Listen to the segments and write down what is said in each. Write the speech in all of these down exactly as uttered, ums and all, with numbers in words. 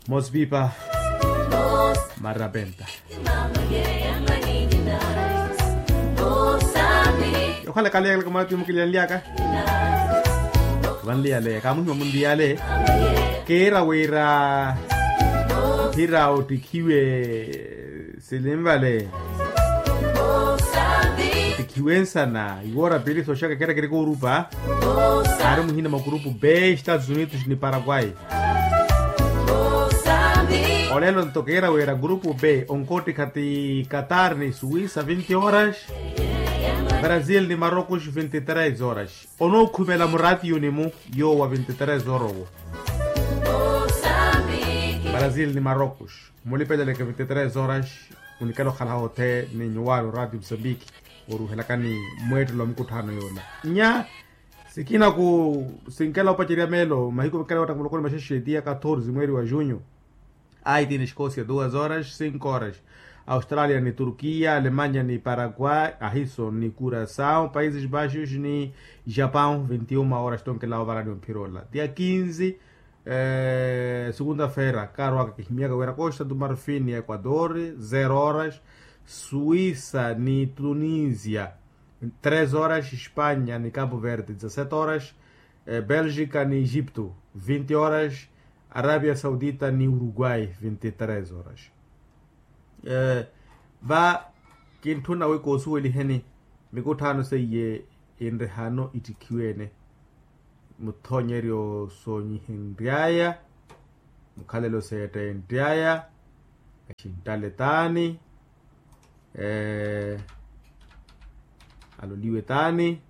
Mosipipa marapenta. Yokhala ekaleya kalaka mwaati mukiliyanlyaka vanliyale kaamuhima munliyale. Kiira wira mphira ottikhiwe silinvale ottikhiwe nsana iwoora piili sooxaka kiira kiri koorupa. Aari muhina mwa kurupu b estados unidos ni paraguay. Olelo nto kiira wira grupu b onkoottikha ti qatar ni suwisa vinti horas. Brazil ni marocos vinti tres horas. Onookhumela muratiyuni-mu yoowa vinti tres horas owo. Brazil ni marocos mulipeleleke vinti tres horas. Munikela okhala hothe ni nyuwaani oradio mosambiki oruuhelakani mweettelo wa mukutthano yoola. Nya sikina ku sinkela opacerya meelo mahiku mikela wetta muloko ni maxaxeti ya katorze mweeri wa junho. Aiti ni escocia duas horas cinco horas. Australia ni turkia alemanya ni paraguay ahiso ni curação países baixos ni japão vinti uma horas tonkela ovarani omphira ola dia kinzi. Segunda feira kaarwaka kihimyaka wira costa do marfin ni equador zero horas. Suisa ni tunisia tres horas espanya ni cabo verde dezasete horas. Belgica ni egipto vinti horas. Arabia saudita ni uruguay vinti tres horas. Va kintthuna wi koosuweliheni mikutthaano seiye inrihano ittikhiwene. Muthoonyeryo soonyihenryaya mukhalelo seettenryaya. Axintale taani aloliwe taani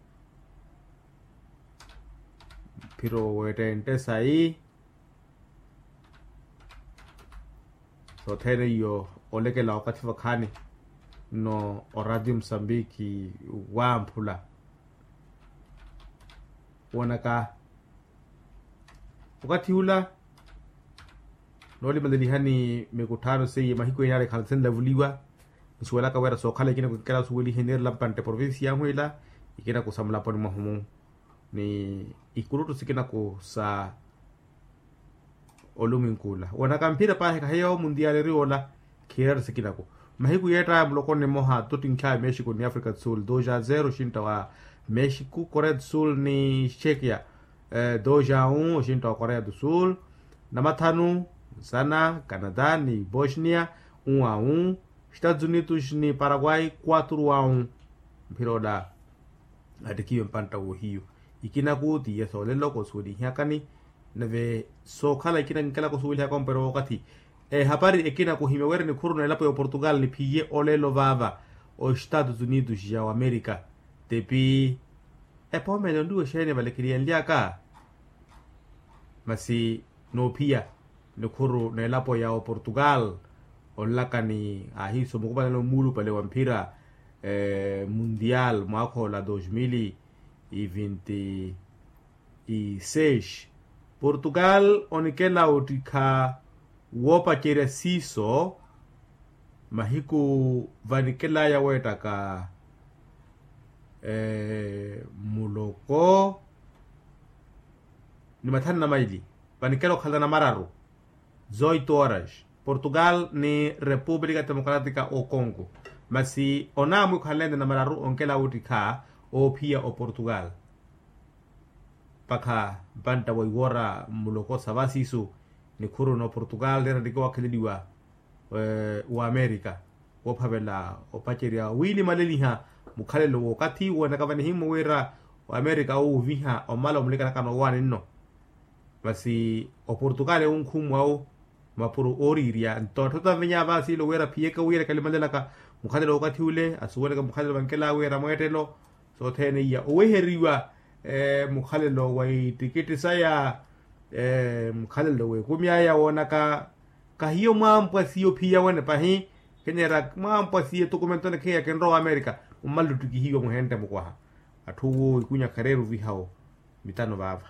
mphiro weettentte sayi. Sothene iyo olekela wakathi vakhaani nno oradio mosambiki wamphula. Woonaka okathi ula noolimalelihani mikutthaano seiye mahiku ene ale khala sinlavuliwa. Nsuwelaka wira sookhala ikinaku kinkela osuwelihe niirela mpantte provincia yamwiila ikinaku sa mulaponi mwahumu ni ikuluttu sikinaku sa olumwinkuula woonaka mphira paahi kahiya omundiyaali eri ola. Khiirari sikinaku mahiku yeettaya muloko ni mmoha tottinkha mexico ni africa do sul dos a zero oxintta wa mexico korea do sul ni chekia dos a un oxintta wa korea do sul. Namathanu nsana canada ni bosnia un a un. Estados unidos ni paraguay quatro a un. Mphira ola attikiwe mpantta woohiyu ikinaku tiye soolelo koosuwelihiyakani. Nave sookhala ikinaku kinkela koosuwelihaka omperewa okathi ehapari ekinaku ohimya wira nikhuru n'elapo ya oportugal niphiye olelo vaava oestados unidos ya oamerica. Tepi epoomene onriwa exeeni valekeriyanlyaka masi noophiya nikhuru n'elapo ya oportugal. Onlaka ni ahiiso mukumanano muulupale wa mphira mundial mwaakha ola dos mil e vinti e seis. Portugal onikela ottikha woopacerya siiso mahiku vanikelaya weettaka muloko ni mathanu na maili. Vanikela okhalana mararu zoito horas portugal ni república democrática o congo. Masi onaamwi okhalana ene na mararu onkela wuttikha oophiya oportugal. Mpakha mpantta wa iwoora mmuloko sa vasiisu nikhuru n'oportugal neeranttikiwa wakheleliwa w'amerika woophavela opacerya wiilimaleliha mukhalelo w'okathi woonaka vanihimmo wira w'amerika owuuviha omala omulikanaka noowaani nno. Masi oportugal ewunkhumwawu mapuro ooriirya nto atthu tanvinya vaasiilo wira phiyeke wira kalimalelaka mukhalelo w'okathi ule asuweleke mukhalelo vankela wira mweettelo sothene iya oweheriwa mukhalelo wa ittikitti saya mukhalelo w'ekumi aya woonaka kahiyo mwampwa siyo phiya wene pahi. Kenyera mwampwa siyo tukumentone kheya kinrowa amerika mummalle ottikihiwa muhente mukwaha atthu wo ikunya khareeru vihawo mitano vaava.